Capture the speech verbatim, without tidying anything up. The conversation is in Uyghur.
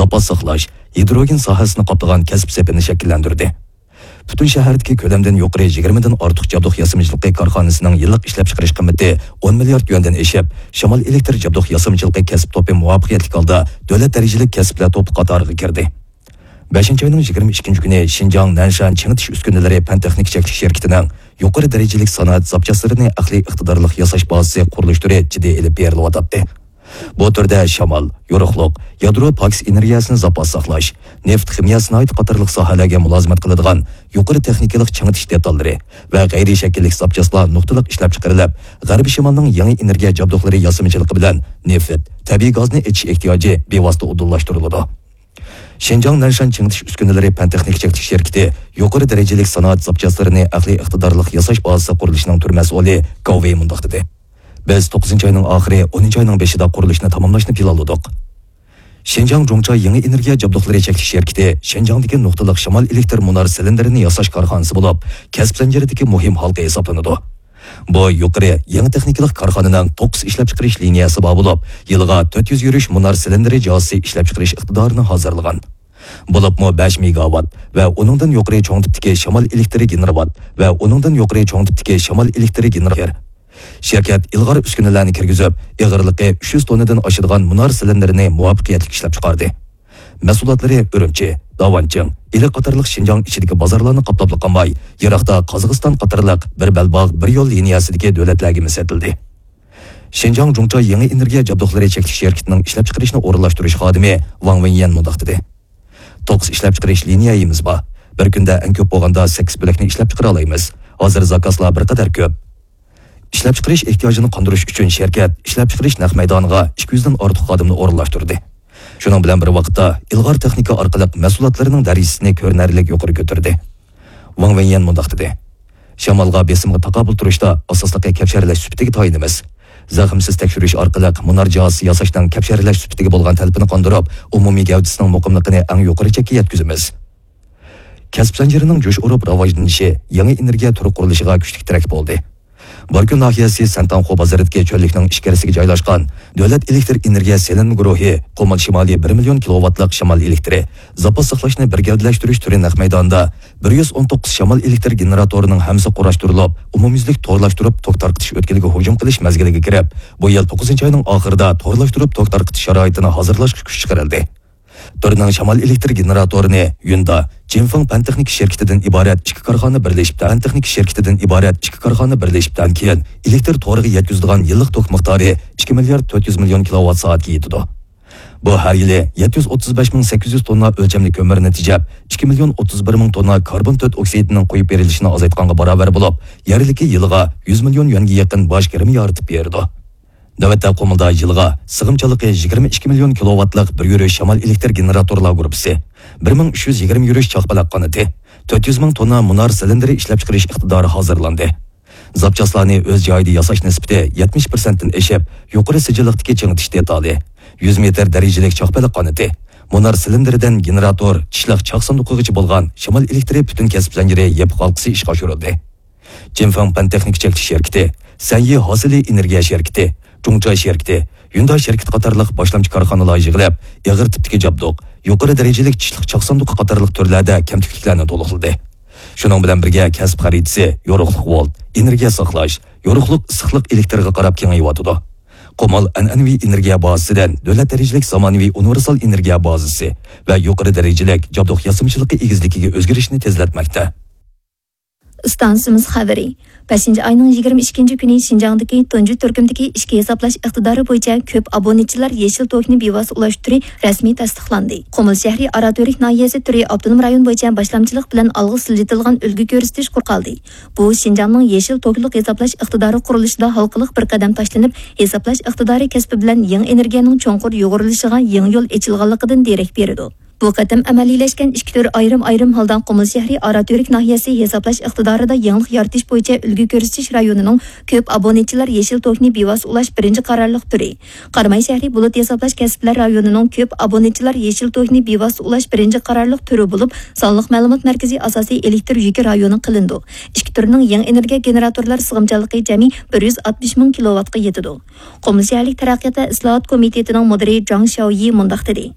زاپاس ساقلاش، ھىدروگېن ساھەسىنى قاپلىغان كەسىپ سېپىنى شەكىللەندۈردى. پۈتۈن شەھەردىكى كۆلەمدىن يۇقىرى يىگىرمىدىن ئارتۇق جابدۇق ياسىمىچىلىقى كارخانىسىنىڭ يىللىق ئىشلەپچىقىرىش قىممىتى ئون مىليارد يۈەندىن ئېشىپ، شامال ئېلېكتر جابدۇق ياسىمىچىلىقى كەسىپ توپى مۇۋەپپەقىيەتلىك ھالدا دۆلەت دەرىجىلىك كەسىپلەر توپى قاتارىغا كىردى. بەشىنچى ئاينىڭ يىگىرمە ئىككىنچى كۈنى شىنجاڭ نەنشان چىڭىتىش ئۈسكۈنىلىرى پەن تېخنىكا چەكلىك شىركىتىنىڭ يۇقىرى دەرىجىلىك سانائەت زاپچاسلىرىنى ئەقلىي ئىقتىدارلىق ياساش بازىسى قۇرۇلۇش تۈرى جىددىي ئېلىپ بېرىلىۋاتاتتى. بۇ تۈردە شامال، يورۇقلۇق، يادرو پاكىز ئېنېرگىيەسىنى زاپاس ساقلاش، نېفىت خىمىيە سانائىتى قاتارلىق ساھەلەرگە مۇلازىمەت قىلىدىغان يۇقىرى تېخنىكىلىق چىڭىتىش دېتاللىرى ۋە غەيرىي شەكىللىك زاپچاسلار نۇقتىلىق ئىشلەپچىقىرىلىپ، غەربىي شىمالنىڭ يېڭى ئېنېرگىيە جابدۇقلىرى ياسىمىچىلىقى بىلەن نېفىت، تەبىئىي گازنى ئېچىش ئېھتىياجى بىۋاسىتە ئۇدۇللاشتۇرۇلىدۇ. شىنجاڭ نەنشان چىڭىتىش ئۈسكۈنىلىرى پەن تېخنىكا چەكلىك شىركىتى يۇقىرى دەرىجىلىك سانائەت زاپچاسلىرىنى ئەقلىي ئىقتىدارلىق ياساش بازىسى قۇرۇلۇشىنىڭ تۈر مەسئۇلى گاۋ ۋېي مۇنداق دېدى: بىز توققۇزىنچى ئاينىڭ ئاخىرى، ئونىنچى ئاينىڭ بېشىدا قۇرۇلۇشنى تاماملاشنى پىلانلىدۇق. شىنجاڭ جۇڭچا يېڭى ئېنېرگىيە جابدۇقلىرى چەكلىك شىركىتى شىنجاڭدىكى نۇقتىلىق شامال ئېلېكتر مۇنار سىلىندىرىنى ياساش كارخانىسى بولۇپ، كەسىپ زەنجىرىدىكى مۇھىم ھالقا ھېسابلىنىدۇ. بۇ يۇقىرى يېڭى تېخنىكىلىق كارخانىنىڭ توققۇز ئىشلەپچىقىرىش لىنىيەسى بار بولۇپ، يىلىغا تۆت يۈز يۈرۈش مۇنار سىلىندىرى جازىسى ئىشلەپچىقىرىش ئىقتىدارىنى ھازىرلىغان. بولۇپمۇ بەش مېگاۋات ۋە ئۇنىڭدىن يۇقىرى چوڭ تىپتىكى شامال ئېلېكتىرى گېنېراتور ۋە ئۇنىڭدىن يۇقىرى چوڭ تىپتىكى شامال ئېلېكتىرى گېنېراتور. شىركەت ئىلغار ئۈسكۈنىلەرنى كىرگۈزۈپ، ئېغىرلىقى ئۈچ يۈز توننىدىن ئاشىدىغان مۇنار سىلىندىرىنى مۇۋەپپەقىيەتلىك ئىشلەپچىقاردى. مەھسۇلاتلىرى ئۈرۈمچى، داۋانچىڭ، ئىلى قاتارلىق شىنجاڭ ئىچىدىكى بازارلارنى قاپلاپلا قالماي، يىراقتا قازاقىستان قاتارلىق بىر بەلباغ، بىر يول لىنىيەسىدىكى دۆلەتلەرگىمۇ سېتىلدى. شىنجاڭ جۇڭچا يېڭى ئېنېرگىيە جابدۇقلىرى چەكلىك شىركىتىنىڭ ئىشلەپچىقىرىشنى ئورۇنلاشتۇرۇش خادىمى ۋاڭ ۋېنيەن مۇنداق دېدى: توققۇز ئىشلەپچىقىرىش لىنىيەيىمىز بار. بىر كۈندە ئەڭ كۆپ بولغاندا سەككىز بۆلەكنى ئىشلەپچىقىرالايمىز. ھازىر زاكازلار بىر قەدەر كۆپ. ئىشلەپچىقىرىش ئېھتىياجىنى قاندۇرۇش ئۈچۈن شىركەت ئىشلەپچىقىرىش نەق مەيدانىغا ئىككى يۈزدىن ئارتۇق خادىمنى ئورۇنلاشتۇردى. شۇنىڭ بىلەن بىر ۋاقىتتا، ئىلغار تېخنىكا ئارقىلىق مەھسۇلاتلىرىنىڭ دەرىجىسىنى كۆرۈنەرلىك يۇقىرى كۆتۈردى. ۋاڭ ۋېنيەن مۇنداق دېدى: شامالغا، بېسىمغا تاقابىل تۇرۇشتا ئاساسلىقى كەپشەرلەش سۈپىتىگە تايىنىمىز. زەخىمسىز تەكشۈرۈش ئارقىلىق مۇنار جازىسى ياساشنىڭ كەپشەرلەش سۈپىتىگە بولغان تەلىپىنى قاندۇرۇپ، ئومۇمىي گەۋدىسىنىڭ مۇقىملىقىنى ئەڭ يۇقىرى چەككە يەتكۈزىمىز. كەسىپ زەنجىرىنىڭ جۇش ئۇرۇپ راۋاجلىنىشى يېڭى ئېنېرگىيە تۈرى قۇرۇلۇشىغا كۈچلۈك تىرەك بولدى. باركۈن ناھىيەسى سەنتاڭخۇ بازىرىدىكى چۆللۈكنىڭ ئىچكىرىسىگە جايلاشقان دۆلەت ئېلېكتر ئېنېرگىيە سېلىنما گۇرۇھى قۇمۇل شىمالىي بىر مىليون كىلوۋاتلىق شامال ئېلېكتىرى زاپاس ساقلاشنى بىر گەۋدىلەشتۈرۈش تۈرى نەق مەيدانىدا بىر يۈز ئون توققۇز شامال ئېلېكتر گېنېراتورىنىڭ ھەممىسى قۇراشتۇرۇلۇپ، ئومۇميۈزلۈك تورلاشتۇرۇپ توك تارقىتىش ئۆتكىلىگە ھۇجۇم قىلىش مەزگىلىگە كىرىپ، بۇ يىل توققۇزىنچى ئاينىڭ ئاخىرىدا تورلاشتۇرۇپ توك تارقىتىش شارائىتىنى ھازىرلاشقا كۈچ چىقىرىلدى. تۈرنىڭ شامال ئېلېكتر گېنېراتورىنى يۈندا جىنفېڭ پەن تېخنىكا شىركىتىدىن ئىبارەت ئىككى كارخانا بىرلىشىپ، پەن تېخنىكا شىركىتىدىن ئىبارەت ئىككى كارخانا بىرلىشىپتىن كېيىن، ئېلېكتر تورىغا يەتكۈزىدىغان يىللىق توك مىقدارى ئىككى مىليارد تۆت يۈز مىليون كىلوۋات سائەتكە يېتىدۇ. بۇ ھەر يىلى يەتتە يۈز ئوتتۇز بەش مىڭ سەككىز يۈز توننا ئۆلچەملىك كۆمۈرنى تېجەپ، ئىككى مىليون ئوتتۇز بىر مىڭ توننا كاربون تۆت ئوكسىدىنىڭ قويۇپ بېرىلىشىنى ئازايتقانغا باراۋەر بولۇپ، يەرلىككە يىلىغا يۈز مىليون يۈەنگە يېقىن باج كىرىمى يارىتىپ بېرىدۇ. نۆۋەتتە قۇمۇلدا يىلىغا سىغىمچانلىقى يىگىرمە ئىككى مىليون كىلوۋاتلىق بىر يۈرۈش شامال ئېلېكتر گېنېراتورلار گۇرۇپپىسى، بىر مىڭ ئۈچ يۈز يىگىرمە يۈرۈش چاقپەلەك قانىتى، تۆت يۈز مىڭ توننا مۇنار سىلىندىرى ئىشلەپچىقىرىش ئىقتىدارى ھازىرلاندى. زاپچاسلارنى ئۆز جايىدا ياساش نىسبىتى يەتمىش پىرسەنتتىن ئېشىپ، يۇقىرى سىجىللىقتىكى چىڭىتىش دېتالى، يۈز مېتىر دەرىجىلىك چاقپەلەك قانىتى، مۇنار سىلىندىرىدىن گېنېراتور، چىشلىق چاق ساندۇقىغىچە بولغان شامال ئېلېكتىرى پۈتۈن كەسىپ زەنجىرى يېپىق ھالقىسى ئىشقا ئاشۇرۇلدى. جىنفېڭ پەن تېخنىكا چەكلىك شىركىتى، سەنيى ھاسىلى ئېنېرگىيە شىركىتى، جۇڭچاي شىركىتى، يۈندا شىركىتى قاتارلىق باشلامچى كارخانىلار يىغىلىپ، ئېغىر تىپتىكى جابدۇق، يۇقىرى دەرىجىلىك چىشلىق چاق ساندۇقى قاتارلىق تۈرلەردە كەمتۈكلۈكلەرنى تولۇقلىدى. شۇنىڭ بىلەن بىرگە، كەسىپ خەرىتىسى يورۇقلۇق ۋولت، ئېنېرگىيە ساقلاش، يورۇقلۇق ئىسسىقلىق ئېلېكتىرغا قاراپ كېڭىيىۋاتىدۇ. قۇمۇل ئەنئەنىۋى ئېنېرگىيە بازىسىدىن دۆلەت دەرىجىلىك زامانىۋى ئۇنىۋېرسال ئېنېرگىيە بازىسى ۋە يۇقىرى دەرىجىلىك جابدۇق ياسىمىچىلىقى ئېگىزلىكىگە ئۆزگىرىشنى تېزلەتمەكتە. ئىستانسىمىز خەۋىرى. بەشىنچى ئاينىڭ يىگىرمە ئىككىنچى كۈنى شىنجاڭدىكى تۇنجى تۈركۈمدىكى ئىچكى ھېسابلاش ئىقتىدارى بويىچە كۆپ ئابونېنتچىلار يېشىل توكنى بىۋاسىتە ئۇلاش تۈرى رەسمىي تەستىقلاندى. قۇمۇل شەھىرى ئاراتۈرك ناھىيەسى تۈرى ئاپتونوم رايون بويىچە باشلامچىلىق بىلەن ئالغا سىلجىتىلغان ئۈلگە كۆرسىتىش قۇرۇپ قالدى. بۇ شىنجاڭنىڭ يېشىل توكلۇق ھېسابلاش ئىقتىدارى قۇرۇلۇشىدا ھالقىلىق بىر قەدەم تاشلىنىپ، ھېسابلاش ئىقتىدارى كەسپى بىلەن يېڭى ئېنېرگىيەنىڭ چوڭقۇر يۇغۇرۇلۇشىغا يېڭى يول ئېچىلغانلىقىدىن دېرەك بېرىدۇ. بۇ قېتىم ئەمەلىيلەشكەن ئىككى تۈر ئايرىم-ئايرىم ھالدا قۇمۇل شەھىرى ئاراتۈرك ناھىيەسى ھېسابلاش ئىقتىدارىدا يېڭىلىق يارىتىش بويىچە ئۈلگە كۆرسىتىش رايونىنىڭ كۆپ ئابونېنتچىلار يېشىل توكنى بىۋاسىتە ئۇلاش بىرىنچى قارارلىق تۈرى، قاراماي شەھىرى بۇلۇت ھېسابلاش كەسىپلەر رايونىنىڭ كۆپ ئابونېنتچىلار يېشىل توكنى بىۋاسىتە ئۇلاش بىرىنچى قارارلىق تۈرى بولۇپ، سانلىق مەلۇمات مەركىزى ئاساسىي ئېلېكتر يۈكى رايونى قىلىنىدۇ. ئىككى تۈرنىڭ يېڭى ئېنېرگىيە گېنېراتورلار سىغىمچانلىقى جەمئىي بىر يۈز ئاتمىش مىڭ كىلوۋاتقا يېتىدۇ. قۇمۇل شەھەرلىك تەرەققىيات ۋە ئىسلاھات كومىتېتىنىڭ مۇدىرى جاڭ شياۋيى مۇنداق دېدى: